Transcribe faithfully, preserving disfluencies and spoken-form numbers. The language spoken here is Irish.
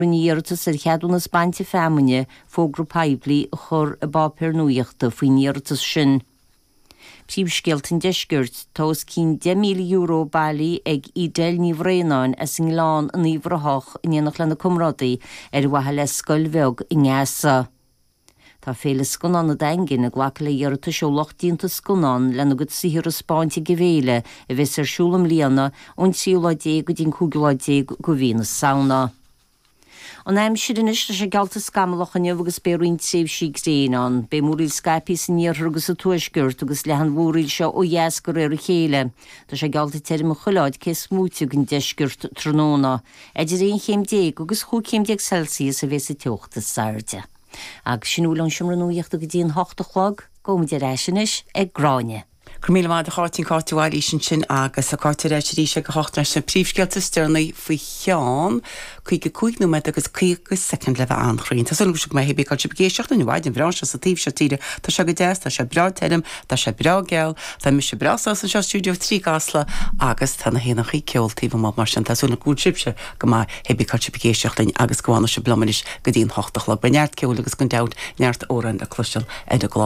Rinne iarratas ar cheadúnas bainte feamainne fógra poiblí a chur i bpáipéar nuachta faoin iarratas sin. Príomhscéalta an deiscirt tá os cionn deich míle euro bailithe ag Edel Ní Bhraonáin as an nGleann in Uíbh Ráthach in éineacht lena comrádaí ar mhaithe le scoil bheag i nGaza. Tá féile scannán an Daingin ag glacadh le hiarratais ó lucht déanta scannán lena gcuid saothar a thaispeáint ag an bhféile a bheas ar siúl i mbliana ón tríú lá déag go dtí an cúigiú lá déag de mhí na Samhna. An aimsir anois tá sé geallta scamallach inniu agus beidh roinnt tréimhsí gréine ann. Beidh múraíl scaipthe san iarthar agus sa tuaisceart agus leathfaidh an mhúraíl seo ó dheas de réir a chéile. Tá sé geallta tirim chuile áit cé is móite den deisceart tráthnóna. Idir aon chéim déag agus chúig chéim déag Celsius a bheas an teocht is airde. Agus sin a bhfuil ón seomra nuachta go dtí an hocht a chlog, gabhaimid ar ais anois ag Gráinne. Go raibh míle maith agat a Cháit Cáit Bhailís ansin agus a Cáit ar ais arís ag a hocht leis na príomhscéalta is deireanaí faoi cheann caoga cúig nóiméad agus caoga soicind le bheith an-chruinn. Tá súil go mbeidh bhí sibh ag éisteacht linn an bhreá seo sa taobh seo tíre Tá sé go deas, tá sé breá tirim, tá sé breá geal, Tá mise breá sásta anseo stiúideo trí gCasla agus tá na héanachaí ceol taobh amuigh mar sin tá súil go bhfuil sibhse go maith hébí sibh ag éisteacht linn agus go bhfanfaidh sibh liom anois go dtí an hocht a chlog beidh neart ceoil agus gan dabht neart amhrán le cloisteáil ar an gclár.